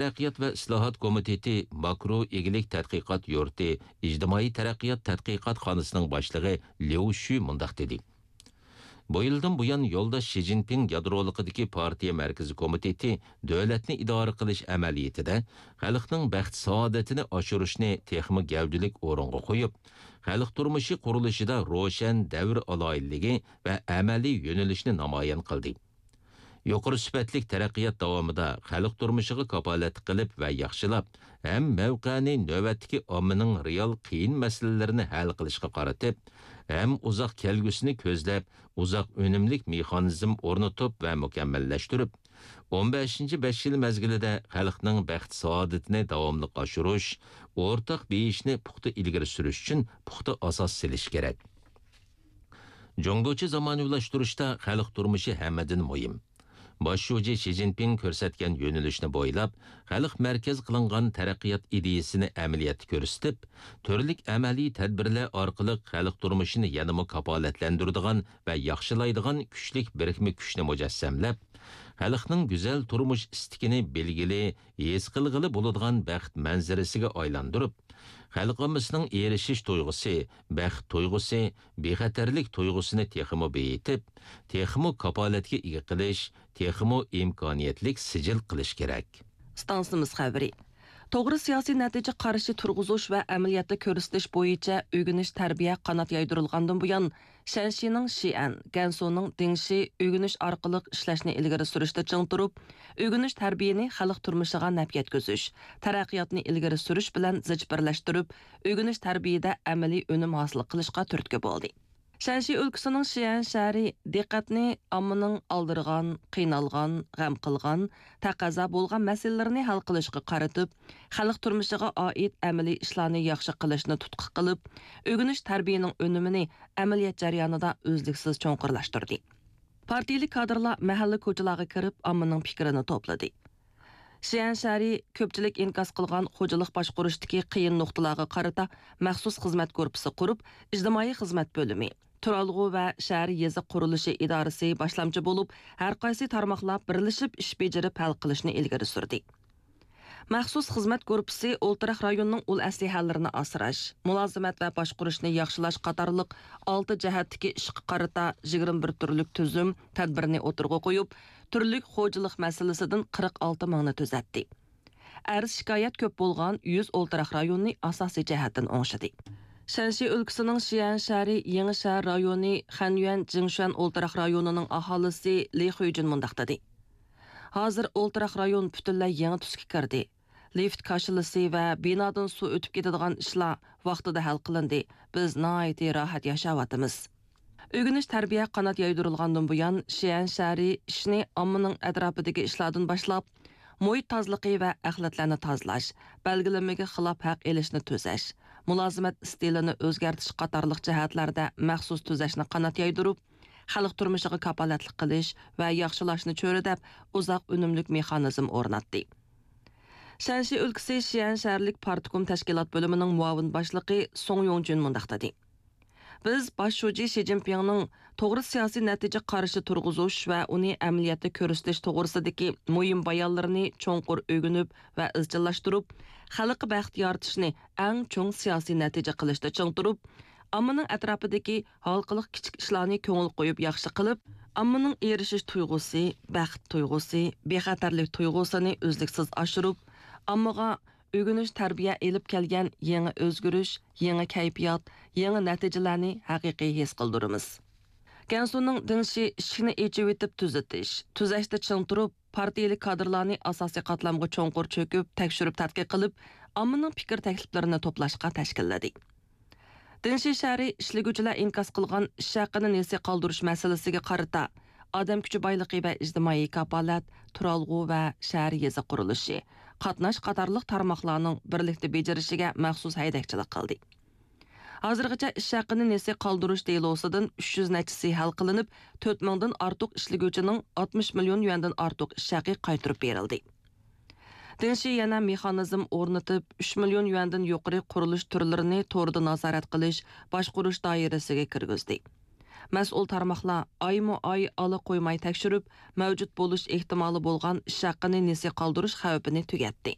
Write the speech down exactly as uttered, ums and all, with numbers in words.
تەرەققىيات ۋە ئىسلاھات كومىتېتى ماكرو ئىگىلىك تەتقىقات يۇرتى ئىجتىمائىي تەرەققىيات تەتقىقاتخانىسىنىڭ باشلىقى ليۇ شۈ مۇنداق دېدى: بۇ يىلدىن بۇيان، يولداش شى جىنپىڭ يادرولۇقىدىكى پارتىيە مەركىزىي كومىتېتى دۆلەتنى ئىدارە قىلىش ئەمەلىيىتىدە خەلقنىڭ بەخت-سائادىتىنى ئاشۇرۇشنى تېخىمۇ گەۋدىلىك ئورۇنغا قويۇپ، خەلق تۇرمۇشى قۇرۇلۇشىدا روشەن دەۋر ئالاھىدىلىكى ۋە ئەمەلىي يۆنىلىشنى نامايان قىلدى. يۇقىرى سۈپەتلىك تەرەققىيات داۋامىدا خەلق تۇرمۇشىغا كاپالەتلىك قىلىپ ۋە ياخشىلاپ، ھەم مەۋقەنى نۆۋەتتىكى ئاممىنىڭ رېئال قىيىن مەسىلىلىرىنى ھەل قىلىشقا قارىتىپ، ھەم ئۇزاق كەلگۈسىنى كۆزلەپ، ئۇزاق ئۈنۈملۈك مېخانىزم ئورنىتىپ ۋە مۇكەممەللەشتۈرۈپ، ئون بەشىنچى بەش يىل مەزگىلىدە خەلقنىڭ بەخت-سائادىتىنى داۋاملىق ئاشۇرۇش، ئورتاق بېيىشنى پۇختا ئىلگىرى سۈرۈش ئۈچۈن پۇختا ئاساس سېلىش كېرەك. جۇڭگوچە زامانىۋىلاشتۇرۇشتا خەلق تۇرمۇشى ھەممىدىن مۇھىم. باش شۇجى شى جىنپىڭ كۆرسەتكەن يۆنىلىشنى بويلاپ، خەلق مەركەز قىلىنغان تەرەققىيات ئىدىيىسىنى ئەمەلىيەتتە كۆرسىتىپ، تۈرلۈك ئەمەلىي تەدبىرلەر ئارقىلىق خەلق تۇرمۇشىنى يەنىمۇ كاپالەتلەندۈرىدىغان ۋە ياخشىلايدىغان كۈچلۈك بىرىكمە كۈچنى مۇجەسسەملەپ، خەلقنىڭ گۈزەل تۇرمۇش ئىستىكىنى بىلگىلى، ھېس قىلغىلى بولىدىغان بەخت مەنزىرىسىگە ئايلاندۇرۇپ، خەلق ئاممىسىنىڭ ئېرىشىش تۇيغۇسى، بەخت تۇيغۇسى، بىخەتەرلىك تۇيغۇسىنى تېخىمۇ بېيىتىپ، تېخىمۇ كاپالەتكە ئىگە قىلىش، تېخىمۇ ئىمكانىيەتلىك سىجىل قىلىش كېرەك. ئىستانسىمىز خەۋىرى. توغرا سىياسىي نەتىجە قارىشى تۇرغۇزۇش ۋە ئەمەلىيەتتە كۆرسىتىش بويىچە ئۆگىنىش تەربىيە قانات يايدۇرۇلغاندىن بۇيان، شەنشىنىڭ شىئەن، گەنسۇنىڭ دىڭشى ئۆگىنىش ئارقىلىق ئىشلەشنى ئىلگىرى سۈرۈشتە چىڭ تۇرۇپ، ئۆگىنىش تەربىيەنى خەلق تۇرمۇشىغا نەپ يەتكۈزۈش، تەرەققىياتنى ئىلگىرى سۈرۈش بىلەن زىچ بىرلەشتۈرۈپ، ئۆگىنىش تەربىيەدە ئەمەلىي ئۈنۈم ھاسىل قىلىشقا تۈرتكە بولدى. شەنشى ئۆلكىسىنىڭ شيەن شەھىرى دىققەتنى ئاممىنىڭ ئالدىرىغان، قىينالغان، غەم قىلغان، تەقەززا بولغان مەسىلىلىرىنى ھەل قىلىشقا قارىتىپ، خەلق تۇرمۇشىغا ئائىت ئەمەلىي ئىشلارنى ياخشى قىلىشنى تۇتقا قىلىپ، ئۆگىنىش تەربىيەنىڭ ئۈنۈمىنى ئەمەلىيەت جەريانىدا ئۈزلۈكسىز چوڭقۇرلاشتۇردى. پارتىيىلىك كادىرلار مەھەللە كوچىلارغا كىرىپ، ئاممىنىڭ پىكرىنى توپلىدى. شيەن شەھىرى كۆپچىلىك ئىنكاس قىلغان خوجىلىق باشقۇرۇشتىكى قىيىن نۇقتىلارغا قارىتا مەخسۇس خىزمەت گۇرۇپپىسى قۇرۇپ، ئىجتىمائىي خىزمەت بۆلۈمى، تۇرالغۇ ۋە شەھەر يېزا قۇرۇلۇشى ئىدارىسى باشلامچى بولۇپ، ھەر قايسى تارماقلار بىرلىشىپ ئىش بېجىرىپ ھەل قىلىشنى ئىلگىرى سۈردى. مەخسۇس خىزمەت گۇرۇپپىسى ئولتۇراق رايوننىڭ ئۇل ئەسلىھەلىرىنى ئاسراش، مۇلازىمەت ۋە باشقۇرۇشنى ياخشىلاش قاتارلىق ئالتە جەھەتتىكى ئىشقا قارىتا يىگىرمە بىر تۈرلۈك تۈزۈم، تەدبىرنى ئوتتۇرىغا قويۇپ، تۈرلۈك خوجىلىق مەسىلىسىدىن قىرىق ئالتە مىڭنى تۈزەتتى. ئەرز-شىكايەت كۆپ بولغان يۈز ئولتۇراق رايوننى ئاساسىي جەھەتتىن ئوڭشىدى. شەنشى ئۆلكىسىنىڭ شيەن شەھىرى يېڭى شەھەر رايونى خەنيۈەن جىڭشۈەن ئولتۇراق رايونىنىڭ ئاھالىسى لى خۇيجۈن مۇنداق دېدى: ھازىر ئولتۇراق رايون پۈتۈنلەي يېڭى تۈسكە كىردى. لىفت كاشىلىسى ۋە بىنادىن سۇ ئۆتۈپ كېتىدىغان ئىشلار ۋاقتىدا ھەل قىلىندى. بىز ناھايىتى راھەت ياشاۋاتىمىز. ئۆگىنىش تەربىيە قانات يايدۇرۇلغاندىن بۇيان، شيەن شەھىرى ئىشنى ئاممىنىڭ ئەتراپىدىكى ئىشلاردىن باشلاپ، مۇھىت تازىلىقى ۋە ئەخلەتلەرنى تازىلاش، بەلگىلىمىگە خىلاپ ھەق ئېلىشنى تۈزەش، مۇلازىمەت ئىستىلىنى ئۆزگەرتىش قاتارلىق جەھەتلەردە مەخسۇس تۈزەشنى قانات يايدۇرۇپ، خەلق تۇرمۇشىغا كاپالەتلىك قىلىش ۋە ياخشىلاشنى چۆرىدەپ، ئۇزاق ئۈنۈملۈك مېخانىزم ئورناتتى. شەنشى ئۆلكىسى شيەن شەھەرلىك پارتكوم تەشكىلات بۆلۈمىنىڭ مۇئاۋىن باشلىقى سۇڭ يۇڭجۈن مۇنداق دېدى: بىز باش شۇجى شى جىنپىڭنىڭ توغرا سىياسىي نەتىجە قارىشى تۇرغۇزۇش ۋە ئۇنى ئەمەلىيەتتە كۆرسىتىش توغرىسىدىكى مۇھىم بايانلىرىنى چوڭقۇر ئۆگىنىپ ۋە ئىزچىللاشتۇرۇپ، خەلققە بەخت يارىتىشنى ئەڭ چوڭ سىياسىي نەتىجە قىلىشتا چىڭ تۇرۇپ، ئاممىنىڭ ئەتراپىدىكى ھالقىلىق كىچىك ئىشلارنى كۆڭۈل قويۇپ ياخشى قىلىپ، ئاممىنىڭ ئېرىشىش تۇيغۇسى، بەخت تۇيغۇسى، بىخەتەرلىك تۇيغۇسىنى ئۈزلۈكسىز ئاشۇرۇپ، ئاممىغا ئۆگىنىش تەربىيە ئېلىپ كەلگەن يېڭى ئۆزگىرىش، يېڭى كەيپىيات، يېڭى نەتىجىلەرنى ھەقىقىي ھېس قىلدۇرىمىز. گەنسۇنىڭ دىڭشى ئىشىكنى ئېچىۋېتىپ تۈزىتىش، تۈزەشتە چىڭ تۇرۇپ، پارتىيىلىك كادىرلارنى ئاساسىي قاتلامغا چوڭقۇر چۆكۈپ، تەكشۈرۈپ تەتقىق قىلىپ، ئاممىنىڭ پىكىر تەكلىپلىرىنى توپلاشقا تەشكىللىدى. دىڭشى شەھىرى ئىشلىگۈچىلەر ئىنكاس قىلغان ئىش ھەققىنى نېسى قالدۇرۇش مەسىلىسىگە قارىتا، ئادەم كۈچى بايلىقى ۋە ئىجتىمائىي كاپالەت، تۇرالغۇ ۋە شەھەر يېزا قۇرۇلۇشى، قاتناش قاتارلىق تارماقلارنىڭ بىرلىكتە بېجىرىشىگە مەخسۇس ھەيدەكچىلىك قىلدى. ھازىرغىچە ئىش ھەققىنى نېسى قالدۇرۇش دېلوسىدىن ئۈچ يۈز نەچچىسى ھەل قىلىنىپ، تۆت مىڭدىن ئارتۇق ئىشلىگۈچىنىڭ ئاتمىش مىليون يۈەندىن ئارتۇق ئىش ھەققى قايتۇرۇپ بېرىلدى. دىڭشى يەنە مېخانىزم ئورنىتىپ، ئۈچ مىليون يۈەندىن يۇقىرى قۇرۇلۇش تۈرلىرىنى توردا نازارەت قىلىش، باشقۇرۇش دائىرىسىگە كىرگۈزدى. مەسئۇل تارماقلار ئايمۇ ئاي ئالا قويماي تەكشۈرۈپ، مەۋجۇت بولۇش ئېھتىمالى بولغان ئىش ھەققىنى نېسى قالدۇرۇش خەۋپىنى تۈگەتتى.